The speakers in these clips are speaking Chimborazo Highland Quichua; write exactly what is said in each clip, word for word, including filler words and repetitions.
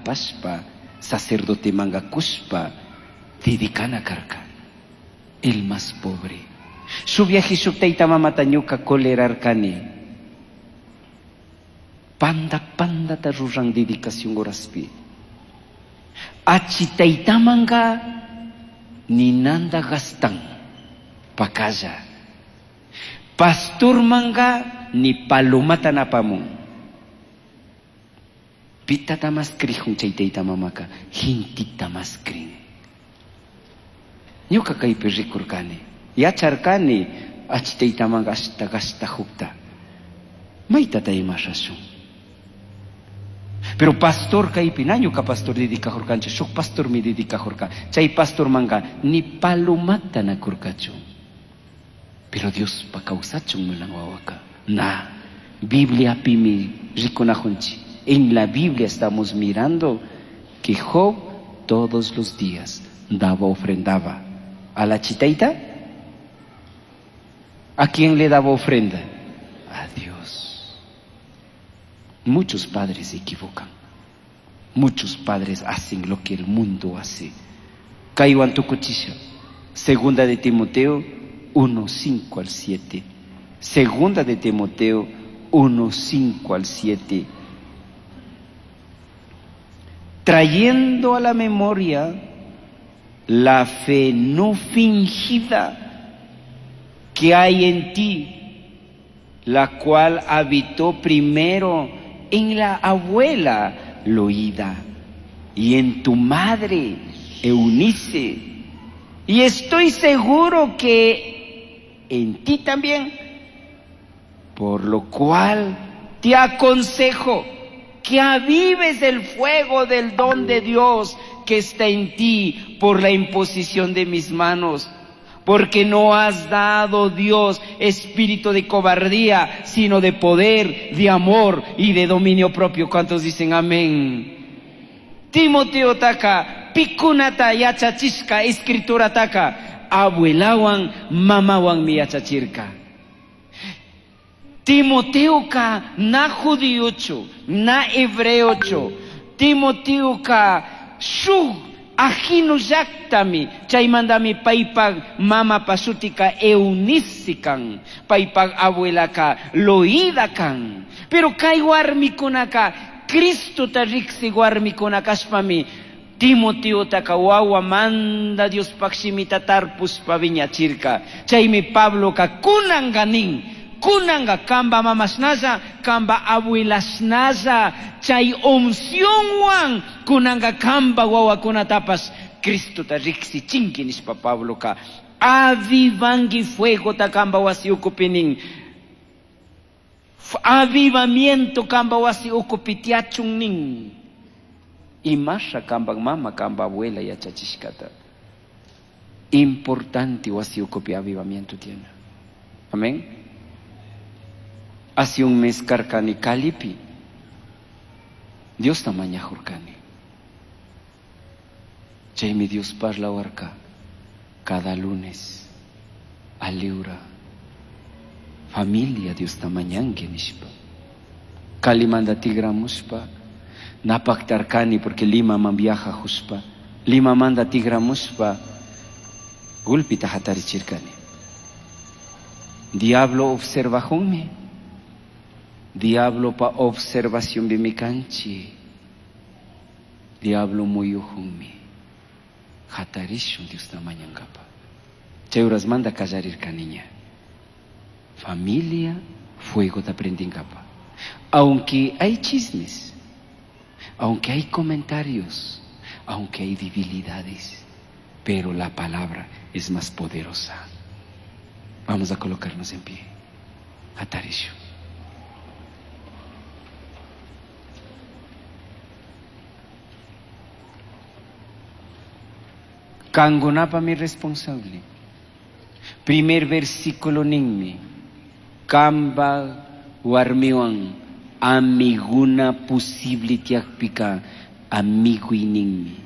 apashpa sacerdotemanga kushpa dedicana karka. El más pobre. Shuk viaje shuk tayta mamata ñuka colerarkani. Panda pandata ruran dedicación horaspi. Achi taytamanga ninanda gastan pakalla. Pastor manga ni palomata napamun. Pitata mas krijun chay tayta mamaka, hintita mas krin. Ñuka kaypi rikurkani, yacharkani achi tayta manga ashta gasta jukta. Maytata imashashun. Pero pastor kaypi na ñuka pastor dedicajurkanchu, shuk pastor mi dedicajurka. Chay pastor manga ni palomata nakurkachu. Pero Dios pa kawsachun munan wawaka. Na, Biblia pimi rikunajunchi. En la Biblia estamos mirando que Job todos los días daba, ofrendaba. ¿A la chitaita? ¿A quién le daba ofrenda? A Dios. Muchos padres se equivocan. Muchos padres hacen lo que el mundo hace. Kaywan tukuchisha. Segunda de Timoteo uno, cinco al siete. Segunda de Timoteo uno, cinco al siete. Trayendo a la memoria la fe no fingida que hay en ti, la cual habitó primero en la abuela Loida y en tu madre Eunice. Y estoy seguro que en ti también, por lo cual te aconsejo que avives el fuego del don de Dios que está en ti por la imposición de mis manos. Porque no has dado Dios espíritu de cobardía, sino de poder, de amor y de dominio propio. ¿Cuántos dicen amén? Timoteo taka, pikunata yachachishka, escritura taka, abuelawan, mamawan mi yachachirka. Timoteo ka na judíocho, na hebreocho. Timoteo ka shuk ajino llaktami, chaymantami paypaq mama pasutika Eunice kan, paypaq abuelaka Loida kan. Pero kay warmikunaka Cristota riqsi warmikuna kashpami Timoteotaka wawa manda Diospaq shimita tarpushpa viñachirka. Chaymi Pabloka kunanka nin, kunanga kamba mamashnalla, kamba abuelashnalla, chay uncionwan kunanga kamba wawakunatapas Cristota riqsichinki nishpa Pabloka avivanki fuegota kamba wasi ukupi nin. Avivamiento kamba wasi ukupi tiachun nin. Imasha kamba mama kamba abuela yachachishkata. Importante wasi ukupi avivamiento tiene. Amén. Hace un mes karkani Calipi. Dios tamañajurkani. Chaymi Dios parlawarka cada lunes aliura. Familia Dios tamañanki nishpa. Kalimanda tigramuspa. Napaktarkani porque Lima man viaja juspa. Lima manda tigramuspa. Gulpita hatarichirkani. Diablo observa junmi. Diablo pa observación bimikanchi. Diablo muyuhunmi. Hatarishun Dios tamañankapa. Chay manda kallarirka niña. Familia, fuego te aprendinkapa. Aunque hay chismes, aunque hay comentarios, aunque hay debilidades, pero la palabra es más poderosa. Vamos a colocarnos en pie. Hatarishu. Kangunapa mi responsable. Primer versículo ninmi. Kamba warmiwan amiguna posible tiakpika amiguininmi.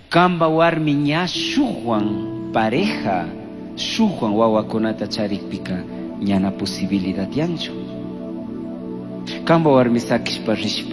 Kamba warmi ña shuhuan pareja, shuhuan wawakunata charikpika ñana posibilidad yanchu. Kamba warmi sakishpa rishpa